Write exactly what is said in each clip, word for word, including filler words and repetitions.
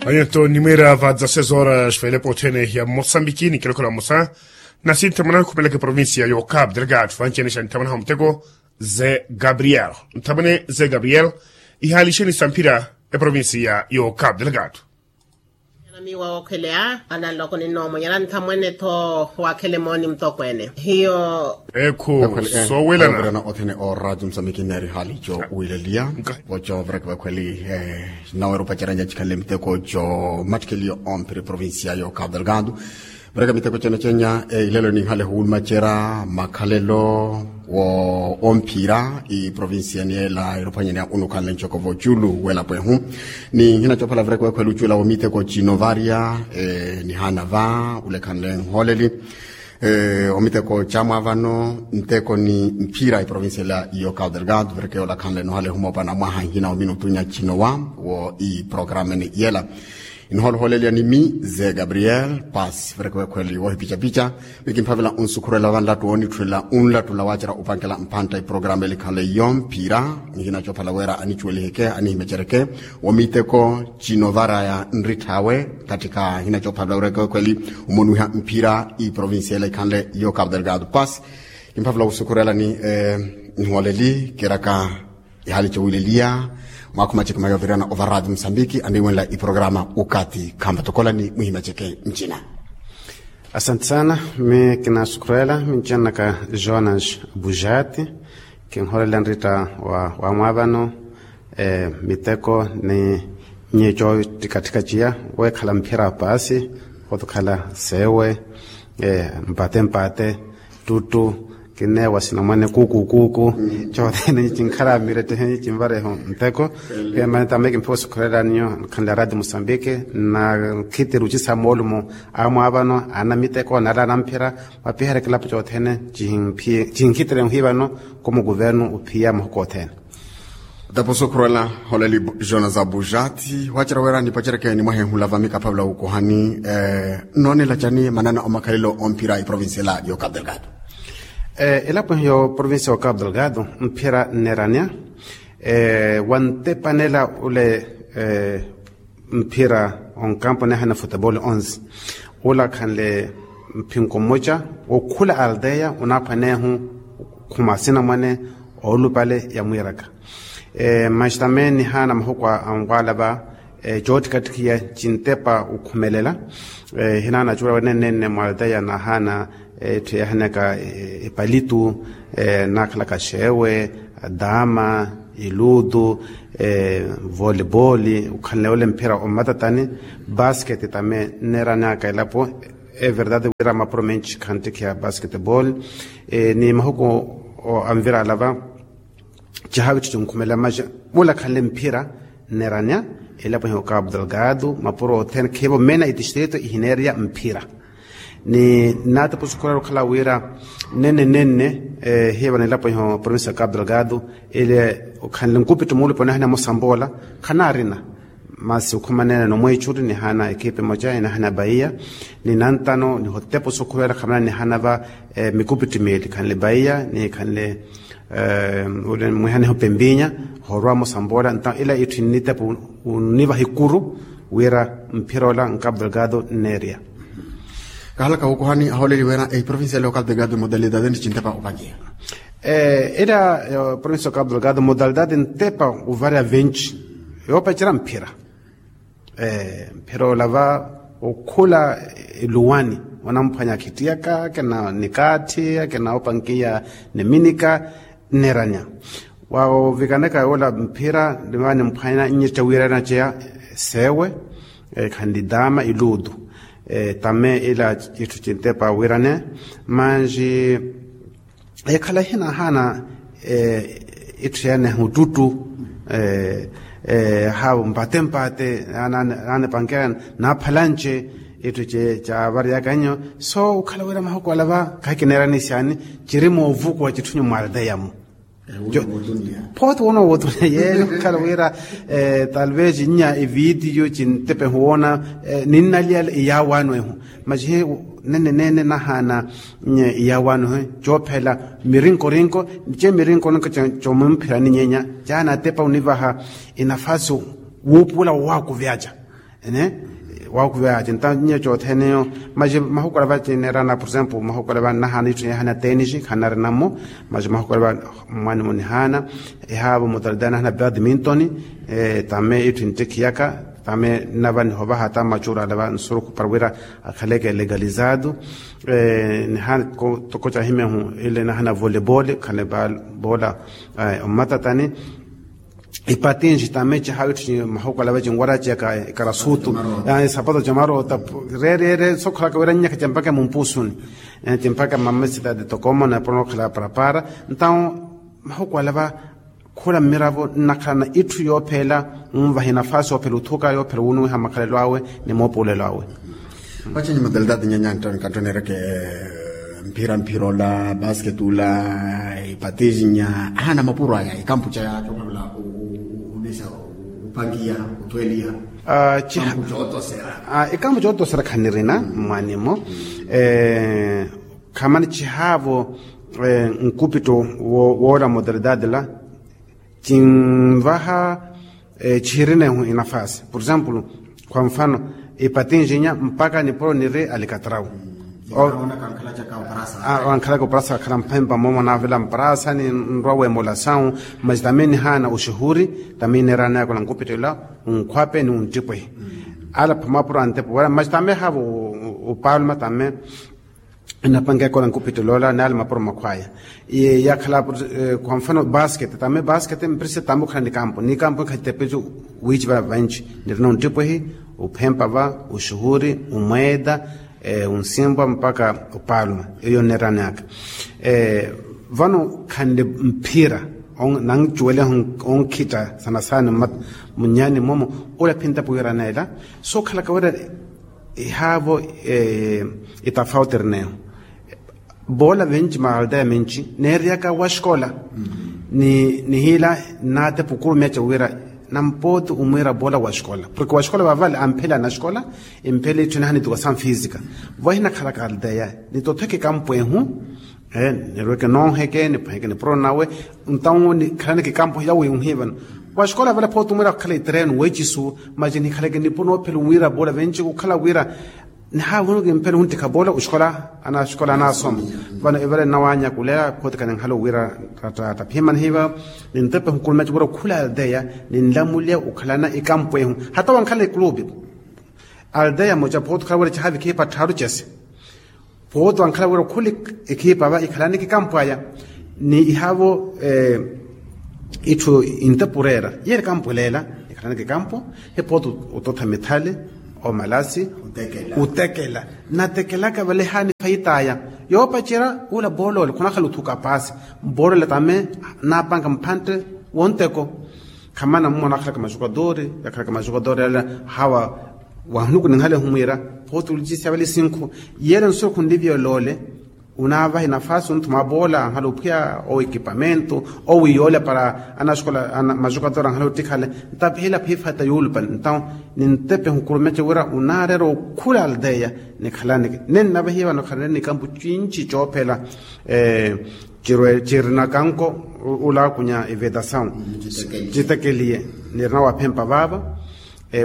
Anyeto nimwira va dzaseis horas vailepo othene ya mosambiki ni kilokola mosa. Nasi nthamana khumelaka provincia yo cap delgado vancenesha nthamana ha muteko ze gabriel. Nthamane ze gabriel ihalisheni samphira eprovincia yo cap delgado. Nyana miwa okheleya ananloko ninoomo nyana nthamwene tho wakhele mooni mutokweene hiyo. Ekhu sowelana othene o radio msamiki neri hali jo wileliya. Voco vreke vakhweli naweru paceranya cikhanle miteko jo mattikeliyo omphiri provincia yo cap delgado. Vreke miteko cene cenya ilelo ninhale huwulumacera makhalelo wo omphira iprovincia niyela irophwanyani ya unukhanle ncoko voculu wela pwehu. Ni nhina cophala vreke vakhweli ucula wo miteko cino varya nihana va ulekhanle nholeli. Omiteko camwa vano nteko ni mphira iprovincia ila iyo cap delgado vireke yoolakhanle nohale humopana mwaha nhina ominutu nya cinowa wo iprokarameni yela. Inoholoholelya ni mi ze gabriel pasi vireke wekhweli wohipicapica. Mikimphavela onsukhurela vanlattu woonitthulela unlattula waacera upankela mpantta iprokarama elikhanle iyo mphira. Nhina cophala wira anicuweliheke anihimecereke wo miteko cino varaya nritth'awe. Katthika nhina cophavela wira ekewekhweli omonuwiha mphira iprovincia ela ikhanle iyo cap delgado pasi. Kimphavela wusukhurelani nihwaleli kiraka ihali cowileliya mwaakho macekima yoovirana ova radio mosambiki aniwenla iprokarama. Ukati khampatokolani muhimaceke ncina. Asante sana. Mi kinasukhurela mincenaka jonas bujati. Kinholela nrita wa wamwavano miteko ni nyico ttikatthika ciya wekhala mphira paasi. Otukhala sewe mpate mpate tuttu kinneewa sina mwane kuuku kuuku. Cothene nyi cinkhala mirettehe nyi cinvareho nteko. Pia mane tame kimphiwa osukhurela ninyo nkhanle aradi mosambiki na nkhitiri ocisa moolumo amwaavano ana miteko nala ana mphira. Mwapiherya kilapo cothene cihinkhitiri nhi vano komo kuvernu ophiya mahuku othene. Tapo sokhurwela holeli jona za bujati wacera wira nipacerekeni mwahenhula vami kaphavula wukuhani. Nnoonela cani manana omakhalelo omphira iprovincia ela yo cap delgado. Elapo ehi yo provincia yo cap delgado mphira nnerania wantepanela ule mphira onkampo nehana futebol onze ula khanle mphinko mmoca wokhula aldeya unaphwanehu khuma sinamwane oolupale ya mwiiraka. Maxi tame nihaana mahuku a nwaala va coottikattikhiya cintepa okhumelela. Hinaana acuula wenenenne mwalteya nahaana etthu yahaneka epalitu naakhalaka xeewe, daama, iluutu, voliboli okhanle ole mphira ommatatani. Basketi tame nneeranaka elapo everdade wira mapuro menci khanttikhiya basketbol. Ni mahuku anvirala va cihaavi ttici onkhumela maxa. Vula khanle mphira nneranya elapo ehi okapu delgado mapuro othene khiivo mena itistrito ihineerya mphira. Ni nnaatapusukhurela okhala wira nenne nenne hiiva na elapo ehi oprovinsi okapu delgado ele okhanle nkupittu muulupa onahina mosambola khanaarina. Masi okhumanene nomweechuri nihaana ekipi moca inahana baiya ni nantano nihotepa osukhuvela khamana nihaana va mikupittu miili khanle baiya ni khanle mwihaneho pempinya horwamo samboola nta ila itthu innitepa onivaha ikuru wira mphira ola nkapu delgado nneerya. Kahalaka wukuhani ahooleliwena eprovincia ela okapu delgado modalidade nti cintepa opaceya. Ela provincia okapu delgado modalidade ntepa ovarya vinci yoopacerya mphira. Mphira olava okhula eluwani onamphwanya akhittiyaka akina nikaatthi akina opankiya niminika nneranya. Wawo vikaneka yoola mphira niva nimphwanya nnyetta wiirana ceya seewe khanli daama iluutu. Tame ila itthu cintepa wiirane manji ekhala hinahaana itthu yene hututtu haawo mpate mpate nanepankeya naaphalanci itthu cavaryaka nyo. So okhala wira mahuku ala va khahikineerani syani ciri moovukuwa citthu nyu mwalteyamu. Phooti woona wootuneya yeeyo okhala wira talvez nnya ivitiyo cintepe huwoona ninnaliyala iyaawaano ehu. Macihe nene nene nahaana iyaawaano ehu coophela mirinkorinko. Nice mirinkorinko comumphirani nyenya caanatepa onivaha enafasi wuupuula woowaakuvyaca. Ene, wakuveya cinta nyeco otheneyo. Maji mahukwala va cinerana por exemplo mahukwala va nahana ithu yehana tenisi khanari namo. Maji mahukwala va mwani munihana ehavo mutalida nahana badminton. Tame ithu ntikhiyaka tame nava nihovaha ta machurala va nsuruku para wira akhaleke legalizado. Nihana toko cahimehu ile nahana volebole khane bola omatatani. Ipatinji tame cihawi tthi mahukwala va cinwara ciyaka ikarasutu. Isapato ca marota rerere sokhalaka wira nyaka campaka mumpusuni. Cimpaka mamesita de tokomo na pronokhala parapara. Ntao mahukwala va khula mmiravo nnakhalana itthu yoophela. Nvahi nafasi yoophela uthuka yoophela wunuwiha makhalelo awe ni moopuulelo awe. Vacinyi modalidade nyanya ntoni kantonereke mphira mphira ola basket ula ipatijinya ahana mapuro aya ikampu caya cokholola. Ulisa upangiya utweliya ikampu cootosera. Ikampu cootosera khanirina mwanimo. Khamani cihaavo nkupitto woola modalidade la cinvaha cihirinehu inafasi por exemplo kwa mfano ipatinjinya mpaka nipuro niri alikatrau. Wankhalaka oparasa akhala mphempa momo navela mparasa ni nrwa wemolasawu. Mas tame nihana uxuhuri tame ineerana yakola nkupitto ila unkhwape ni unttipwehi. Ala phamapuro antepo wala mas tame havo upaluma tame. Napanke kola nkupitelo ola nali mapuro makhwaya. Yakhala kwa mfano basket tame basket mprise tame okhala ni kampo ni kampo nkhatepeju. Wiici va vanci nirina unttipwehi uphempa va uxuhuri umweeda unsimpwa mpaka upaluma. Eyo nneeraneyaka vano khanle mphira nancuweleha onkhitta sana sana. Munnyani momo ula phintapu wiraneela sokhalaka wira ihaavo itafauti erineyo. Boola venci maalteya menci neeriyaka wa xikola ni nihiila nnaatepa okurumeca wira nampooti omwiira boola wa xikola porke wa xikola vavale amphela na xikola. Emphela itthu nihana itukasamu fisika vahinakhalaka alteya nitotheke kampwehu. Nirweke nooheke nipweheke nipuro nawe ntawo nikhalaneke kampo yawe unhivano. Wa xikola vale photo mwira khukhala itereno wecisu mas nikhaleke nipo noophela wira bola venci kukhala wira nihaavunu kimphela huntikha bola uxikola ana xikola anasoma. Vano evale nnawanyakulela photo khaninhala wira ratta taphimanihiva nintepe hukulumya civura khula aldeya ninlamuliya ukhalana ikampo ehu. Hata wankhala ikulupi aldeya moca photo khala wira cihavi khipa tharu cese. Photo ankhala wira okhuli ekhipa va ikhalaneke kampo aya ni ihavo itthu intepurera yeri kampo leela ikhalaneke kampo. He photo ototha mithali omalasi utekela natekelaka vale hani khayitaya yoopacerya ula boolole khunakhala othuka paasi mboolole tame napanka mphantte. Wonteko khamana mumona akhalaka maxukatori yakhalaka maxukatori yala hawa wahunuku ninhale humwiira phooti ulicisya vale sinkhu. Yele nsuku nlivyolole unaavahi nafasi onthuma aboola anhala ophwiya owo ekipamento owo iyoola para anaxukola maxukatori anhala ottikhale. Ntapiheela phifata yoolupani ntawo nintepe hukurumeca wira unaareera okhula aldeya nikhalaneke nennavahiye vano khanene nikampu cinci coophela. Cirwe cirina kanko ulaakunya evetasawu citekeliye nirina waphempa vaava.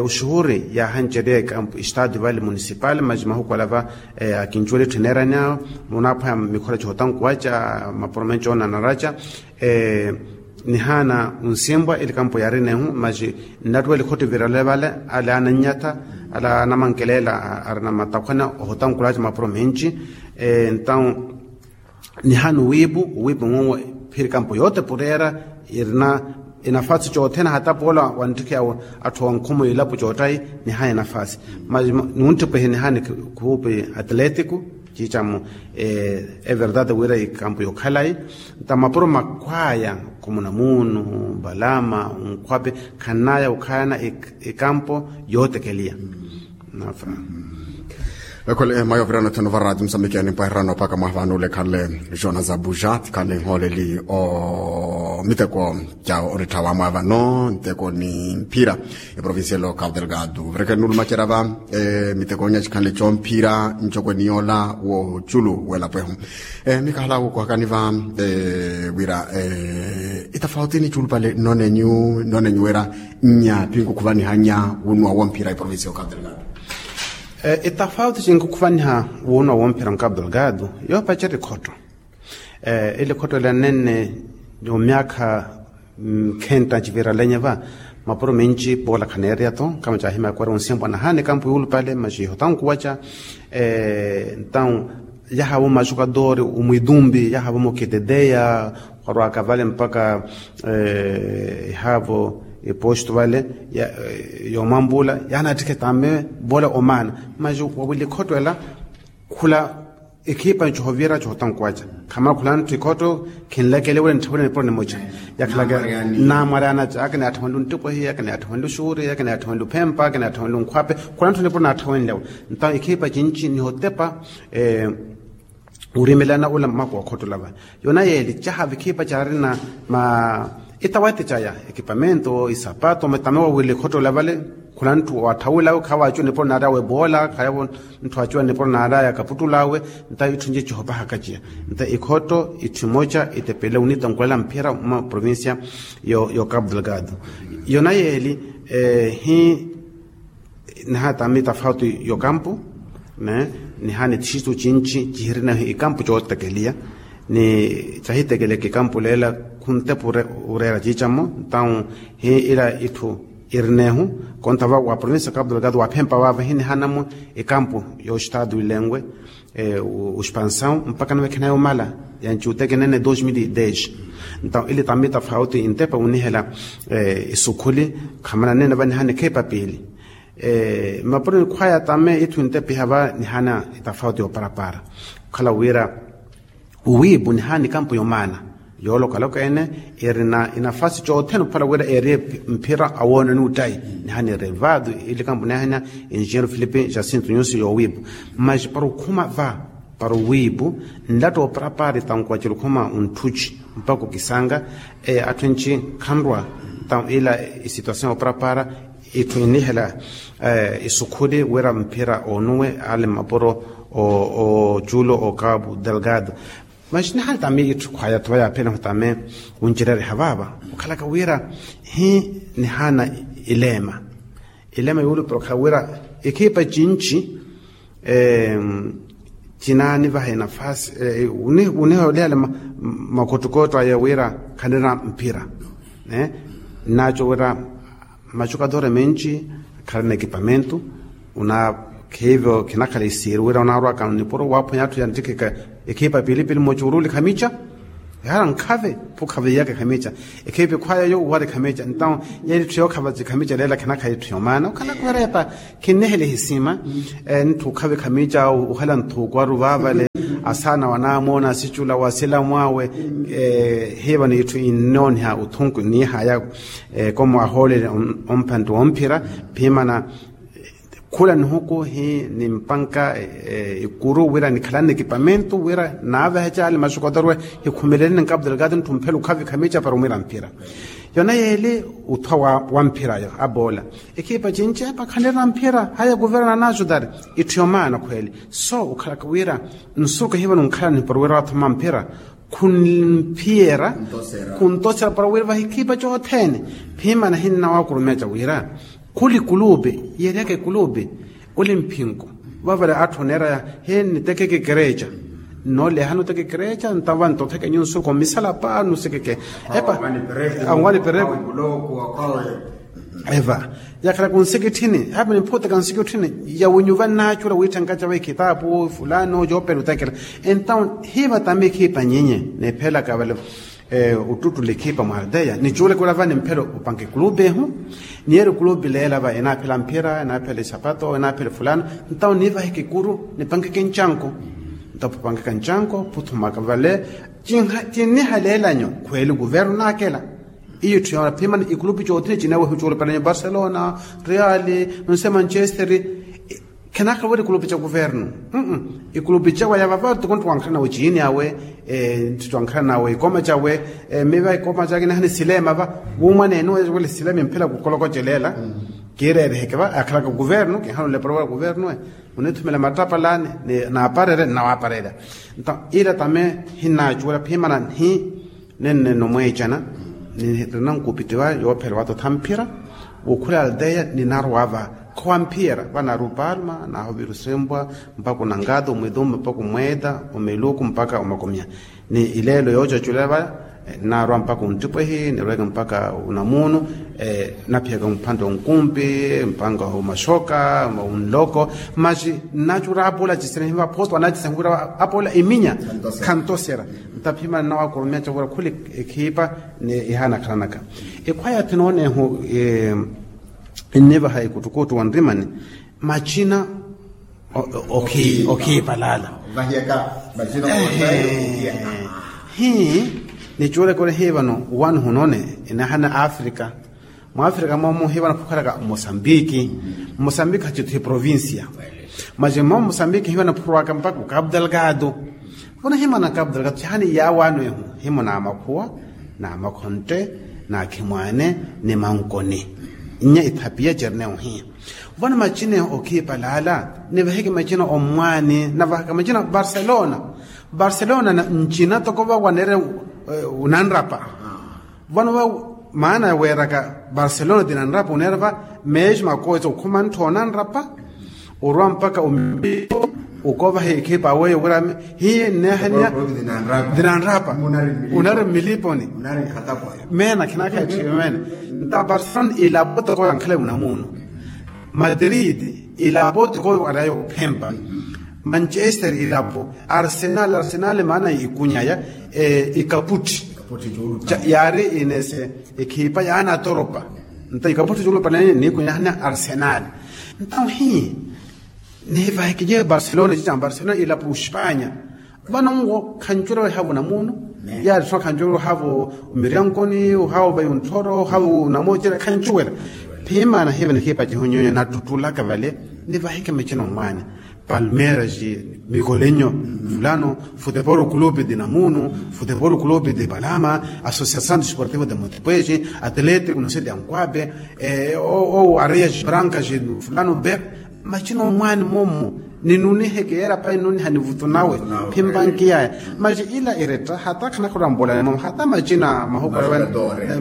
Oxuhuri yaahancerya ekampu estado vale municipal mas mahukwala va akincuwela etthu eneerani awo munaapweha mikhora cihotankuwaca mapuro menci oonanaraca. Nihaana onsimpwa elikampu yaarinehu mas nnattuwela ikhottivirale vale ale anannyatha ale anamankelela arina matakhwana ohotankulaaca mapuro menci. Entawu nihaana owiipu owiipu nwowo phiri kampo yootepureera irina enafasi cothene hata poola wanttikhiya atthu onkhumu ilapo coottayi. Nihaana enafasi mas nunttipwehe nihaana ekhuupi atletiko ciicamu everdade wira ikampo yokhalayi. Nta mapuro makhwaya khumuna muunu balama onkhwape khannaya okhalana ekampo yootekeliya. Nafa Ekhole mayo virano theno varati musambiki animpwahirano paka mwavano lekhanle, jona za buja tikhanle nholeli o miteko, ja oritthawa mwavano nteko ni mphira. Eprovincia local delgado verekenulu macerava miteko nya chikhanle chomphira nchokwe niyola wo chulu wela pweho. Mikahala wo kuhakani va wira itafauti ni chulu pale nonenyu nonenyu wera nya pinkukhuvaniha nya wunwa womphira eprovincia local delgado. Etafauti cinkhukhuvaniha wuunwa womphira nkapu delgado yoopacerya ekhotto. Ele ekhotto ela nenne omyaakha nkhenta civiralenya va mapuro menci poola khaneereya to kama caahimya kwera onsimpwa nahaana ekampu yuulupale maci ihotankuwaca. Entawu yahavo majukadoori omwitumpi yahavo mukiteteya khwarwaka vale mpaka ehavo eposto vale yoomwampula yaanattikhe tame vole omaana. Maji wawili ekhotto ela khula ekhipa ncohovira cohotankuwaca khamala khula ntthu ekhotto khinlekele wele ntthavwele nipuro nimoca yakhalaka naamwareyana ca akinaatthawenle onttipohi akinaatthawenle oxuuri akinaatthawenle ophempa akinaatthawenle onkhwape khula ntthu nipuro naatthawenlewe. Ntawo ekhipa cinci nihotepa orimelana ula mmako wa khottola va yona yeeli caha vikhipa caarina ma etawete caya ekipamento isapato matame wawile khottola vale khula ntthu waatthawilawe khawacuwa nipuro naarawe boola khayavo ntthu acuwa nipuro naarawe akaputtulawe. Nta itthu nci cihopahaka ciya nta ikhotto itthu imoca itepele onitankulela mphira mwa provincia yo capu delgado yona yeeli hi nihaana tami tafauti yokampu ne nihaana itixitu cinci cihirinahu ikampu cootekeliya ni cahitekeleke ikampu leela khuntepa oreera ciicamo ntawu hi ila itthu irinehu konta va wa provincia capu delgado waphempa vaava hi nihaanamu ikampu yoxitadu ilenwe oxpansawu mpaka nawe khinayi omala yanci utekenene dos mil e dez. Ntawu ili tami tafauti intepa onihela isukhuli khamana nene va nihaana ekhepa piili mapuro nikhwaya tame itthu intepiha va nihaana itafauti yooparapara okhala wira owiipu nihaana ikampu yomaana yoolokaloka ene erina inafasi cothene ophala wira eeriye mphira awoononi uttayi nihaana erevado ili kampu nihaana enjinheiro filipe jacinto nyusi yoowiipu. Mas para okhuma va para owiipu nlatta ooparapara itankuwa cilukhuma ontthuci mpaka okisanga atthu enci khanrwa. Ntawu ila isituasion ooparapara itthu inihela isukhuli wira mphira oonuwe ale mmapuro ocuulo o capu delgado. Mas nihaana tami itthu khwaya tho va yaaphelehu tame oncerereha vaava okhalaka wira hi nihaana ileema ileema yuulupira okhala wira ekhipa cinci cinaanivaha enafasi oniholihale makhottukotto aya wira khanira mphira. Nnaco wira majukadoori menci khalina ekipamento onakhiivyo khinakhala isiiri wira onaarwaka nipuro waaphwanya atthu yanttikheka ekhipa piilipili mmoca oruuli khamica ehara nkhave phukhave iyaka khamica ekhipa ekhwaya yo uwari khamica ntawu yeeri itthu yookhava cikhamica leela khinakhala itthu yomaana okhalaka werepa khinnihela ehisima. Ntthu okhavi khamica ohela nthuuku aru vaavale asaana wanaamoona asicula wasilamwaawe hiiva n'itthu innooniha othunku niihaya. Komo ahoolele omphantti womphira phimana khula nihuku hi nimpanka ikuru wira nikhalane ekipamento wira naaveheca ale maxukotorwe hikhumeleleni nkapu delgado ntthu mphela okhavi khamica para omwira mphira. Yona yeeli othwa wa mphirayo aboola ekhipa cinci epa khanira mphira haya kuverna naxutari itthu yomaana khweeli. So okhalaka wira nsuku ehivani onkhalani para wira wathoma mphira khunphiyera khuntosera para wira vahikhipa cothene phimana hinnawaakurumeca wira khuli kulupe yeeryaka ekulupe oli mphinku vavale atthu oneeraya hi nitekeke ekereca. Nnoolehana oteka ekereca ntawa ntotheke nyu nsuku mmisala paanu sikeke epa anwani pereko eva yakhalaka onsikitthini hape niphutaka nsikitthini yawinyuva nnaacula wiitthanga cawe khitapu fulano coopela otekela. Entawu hiiva tami ekhipa nyinyi niphelaka vale ottuttula ekhipa mwa aldeya nicuulaka wira vani mphela opanka ekulupe ehu niyeeri ekulupe leela va enaaphela mphira enaaphela isapato enaaphela efulano. Entawu niivaheke ekuru nipankeke ncanko ntapu pankaka ncanko phuthumaka vale cinniha leelanyo khweeli kuverno naakela. Iyo itthu yoona phimana ikulupi cothene cineewa ehucuula palanyo barcelona reali nonse manchester Khenakhala wira ikulupi ca kuvernu. Ikulupi cawe yava va tikontto wankhala nawe ciini awe, ntthitto wankhala nawe ikoma cawe, miva ikoma cake nihani silema va wumwaneene wele silema imphela kukolokocelela. Kiireriheke va akhalaka kuvernu kinhana olepora wira kuvernu e, munithumela mattapalani naaparerya nnawaparerya. Nto ila tame hinnacuwela phimana nhi nenne nomweecana. Nirina nkupiti va yoophela vatotha mphira wukhula aldeya ninarwa va khowamphiyera vanaru palma naho viru sempwa mpaka unangata omwithumu mpaka omweeta omeluku mpaka omakomiya. Ni ileelo yoocaculela va ninarwa mpaka ontipwehi nirweke mpaka unamuunu. Naphiyaka mphanta onkumpi mpanga omaxoka onloko. Maxi nnacura apola cisena hiva apostolo anacisena huvira apola iminya khantosera. Ntaphimana nnawakoromya cavura khuli ekhipa ni ihanakhalanaka. Ekhwaya thinoonehu nnivaha ekuttukuuttu wa nrimani macina okhiipalala. Hi nicuulekole hi vano wani hunone inahana afrika. Mwaafrika moomo hivana phukhalaka mosambiki. Mosambiki hacithu hi provincia. Maci mmomo mosambiki hivana phurwaka mpaka ukapu delgado. Vona himana kapu delgado cihani yaawaano ehu himo na makhuwa na makhontte na khimwaane ni mankoni. Nnya ithapiya cernehu hiya vona macinehu okhiipalala. Nivaheke macina ommwaani navahaka macina barcelona. Barcelona ncina toko vawaneere unanrapa. Vano va maana ya weeraka barcelona tinanrapa oneera va meesmo akooca okhuma ntthoona nrapa orwa mpaka omiipo. Okovaha ekhipa aweyo wira hiye nneehaniya tinanrapa. Unari mmiliponi meena khinakha etthiyo meene. Nta barcelona ilapo toko yankhala unamuunu madrid ilapo toko warayo ophempa manchester ilapo arsenal arsenal maana ikunyaya ikaputti yaari inese ekhipa yaanatoropa. Nta ikaputti cuulupa nene niikunyahana arsenal. Nta ohi nivahikiye barcelona cica barcelona ilapo ospanya. Vano nwo khancuwela wehavo namuunu yaari tho khancuwela ohavo miryankoni ohavo vayi ontthoro ohavo namoocela khancuwela. Phimaana hiva nikhipa cihonyonyo nattuttulaka vale nivahike macina omwaani palmeiras mikolenyo fulano futebolo clube de namuunu futebolo clube de palama associação desportivo de motipwesi atlético no se de anquabe ou areias brancas fulano be. Macina omwaani moomo ninuniheke yeera payi nunihani vutu nawe phimpa nkiyaya. Maci ila iretta hata khanakhala orambolani moomo hata macina mahuku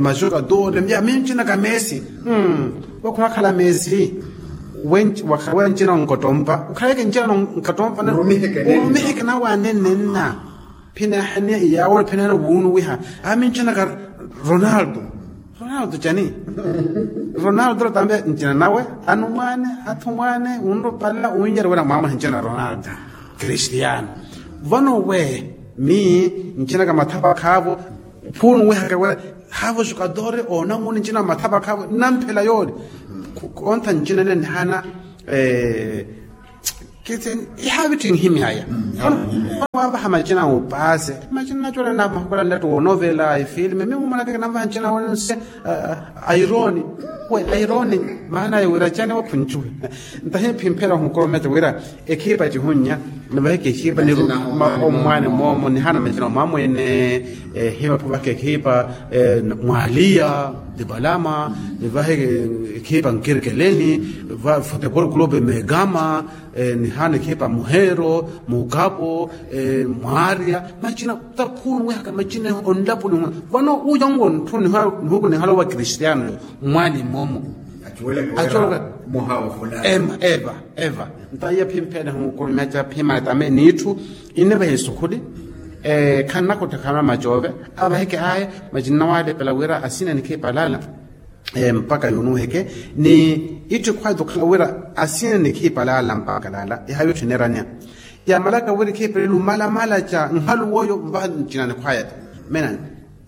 majuka dore ya mincinaka meesi. Wakhunakhala meesi wakhala wencina onkottompa ukhaleke ncina onkottompa urumiheke nawe anenenna. Phinahaniya iyaawo phinahaniya wuunuwiha amincinaka ronaldo. Ronaldo cani? Ronaldo tambe ncina nawe anumwaane athumwaane unrupala unjari wira mwaamwaha ncina ronaldo. Cristiano vano we mi ncinaka mathapa khaavo phuunuwihaka wira haavo jukadore oonamuni ncina mathapa khaavo nnamphela yoori. Kontha ncina nene nihana kiti ihaavitti nhimyaya. Waavaha macina a upaase macina nacola na mahukola nlettu onovela ifilme mi mumonaka kinamvaha ncina wonse. Aironi we aironi maana ya wira cani wakhuncuwe. Ntahi phimphela ohukorometa wira ekhipa cihunnya nivaheke ekhipa niru omwaani moomo nihana macina omwamwene. Hiva phuvaka ekhipa mwaliya dipalama nivaheke ekhipa nkirkeleni futebol clube megama nihana ekhipa muhero mukapo mwaarya macina. Takhunuwehaka macina onlapuli vano uya nwo ntthu nihuku nihalowa kristiano mwaani moomo. Acuwelaka eva eva eva nta iya phimphene hukurumeca phimana tame n'itthu innivaha esukhuli. Khannakottha khanwa macove avaheke aya macinna walepela wira asina nikhiipalala mpakha yunuheke ni itthu ekhwaya okhala wira asina nikhiipalala mpakha lala ihavi otthu eneranya. Yamalaka wira ekhiipalala omalamala ca nhalu woyo mvaha ncinani khwaya ta mena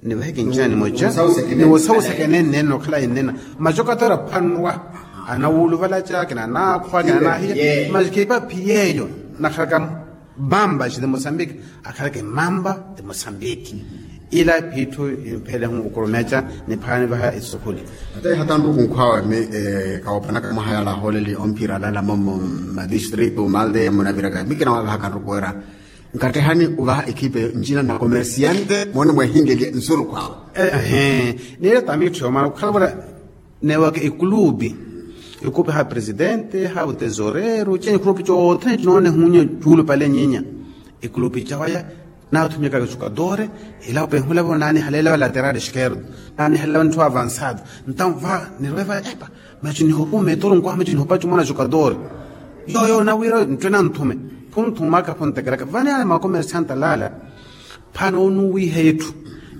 nivaheke ncina nimoca niwosawuseke nennene nokhala ennena. Macoka toora phanwa anawuuluvalaca kina anaakhwa kina anaahiya maci khiipa phiyeeyo nakhalaka mamba ci de mosambiki akhalaka emamba de mosambiki. Ila phiitthu imphelehu okurumeca niphaani vaha esukhuli. Ate hatanttuku nkhwawe mi kawopanaka mwaha yala ahooleli omphira alala momo madistritu malde munaviraka mikina wavahaka nrukuwera. Nkattehani ovaha ekhipe ncina na komersiante moone mweehinlelye nsuru khwawe. Ehe. Niile tamitthu yoomana okhala vula newaka ekulupi, ekupi ha presidente ha otesoreru cene ekulupi cothene cinoone hunya cuulupale nyinya. Ekulupi cawaya naathumyaka jogadore elapo ehulavo naanihaleela va lateral esquerdo, naanihaleela va ntthu avansado. Ntawo va nirweva epa maci nihopa ometoro nkwaha maci nihopa cumwana jogadore. Yoyo nawira nttwe nanthume. Phunthumaka phuntekelaka vani ala makomersanta lala. Phano onuwiha etthu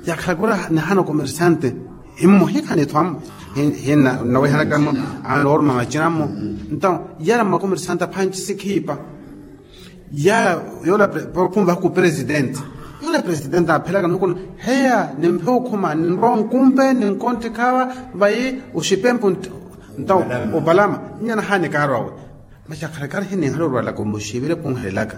yakhalakura nihana okomersante himmo hikhanitho ammo hinawehanaka mmo. Anooruma macina mmo. Ntawo yala mmakomersante aphanci sikhiipa. Yala yola khunvaha ku presidente. Yola presidente aphelaka nukuna heya nimphe okhuma ninrowa nkumpe ninkontthe khawa vayi oxipempo. Ntawo opalama nnyana haani kaarwawe. Masi akhalakari hininhala orwalaka omuxivile khunhelelaka.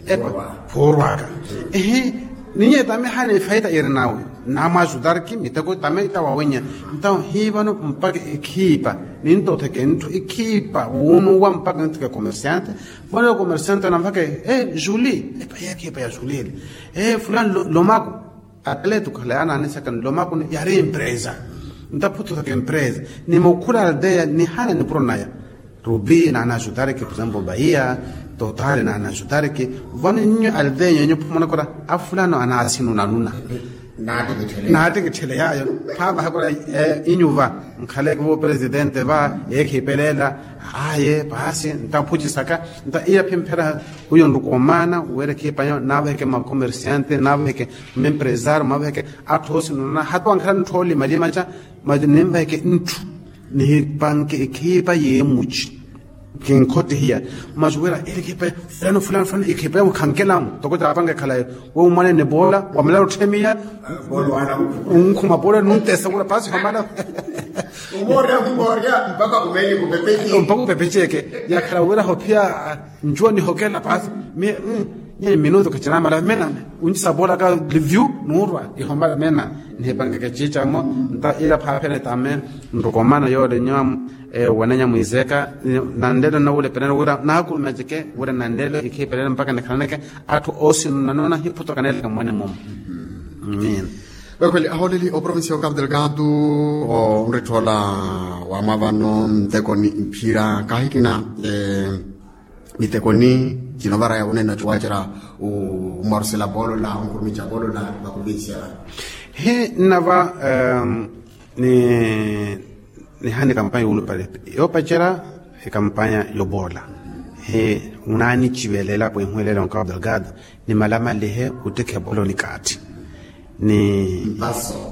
Epa phuurwaka. Ehi. Ninye tame haani efaita iri nawe namwajutarki miteko tame ita wawenya. Ntawo hivano mpaka ekhiipa nintotheke ntthu ekhiipa wunuwa mpaka ntthu ke komersiante. Vano komersiante namphaka e juli epa ye ekhiipa ya juli ele e fulani lomako. Atletu khale anaanisaka nlomako yari empresa. Ntaphutho taka empresa ni mukhula aldeia nihana nipuro naya. Rubi naanajutareke por exemplo baia totale naanajutareke. Vano nnyo aldeia yenyu phumonakora afulano anaasinu nanuna. Naatikitthele yayo. Phaavaha kora inyuva nkhaleke vo presidente va eekhiipelela. Aye paasi ntamphucisaka nta iya phimphera. Uyo nrukomaana wira ekhiipa yo naavaheke makomersiante naavaheke mempresario maavaheke atthu oosinunana hata wankhala ntthu oolima limaca. Mati ninvaheke ntthu nihipanke ekhiipa yeemuci. Kinkhottihiya masi wira eri ekhiipa fulano fulano fulano ekhiipa yamu khankelamo toko taapanke khalayo. We umwanene poola wamala otthemiya. Unkhuma poola nuntesa wira paasi hamala. Mpaka upepeceke yakhala wira hophiya. Ncuwa nihokela paasi. Minutu khacinamala mena uncisa poolaka livyu nuurwa ihomala mena. Nihipangeke ciicamo nta ila phaaphene tame nrukomana yoole nyo. Wanenya mwiiseka nanlelo nawulepelela wira naakurumeceke wira nanlelo ikhiipelela mpaka nikhalaneke atthu oosinu nanona hiphutokanelaka mmwane mumo. Amin. Wekhweli ahooleli oprovincia ya okapu delgado onritthoola wamwa vano ntekoni mphira kahikina mitekoni cino varaya wunene ocuwacerya. Omwarusela poolola onkurumica poolola vakuvinsiya vano. Hi nnava ni nihana ekampanya yoolupale yoopacerya ekampanya yopoola. Hi unaanici velelapo ihuwelela onkapu delgado ni malamalihe ottikha epolo ni kaathi ni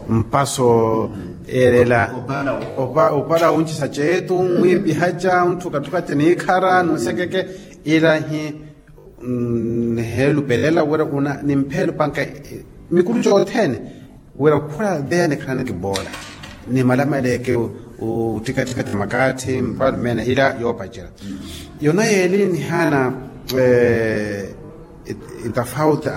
mpaso eerela opala wuncisa ceetu mwiipihaca onthukathukaca niikhara nunsekeke. Ila hi niheelupelela wira una nimpheelupanka mikulu cothene wira khula aldeia nikhalaneke poola ni malamalihe ke ottikatthikathi makaathi mpalumene ila yoopacela. Yona yeeli nihana itafauti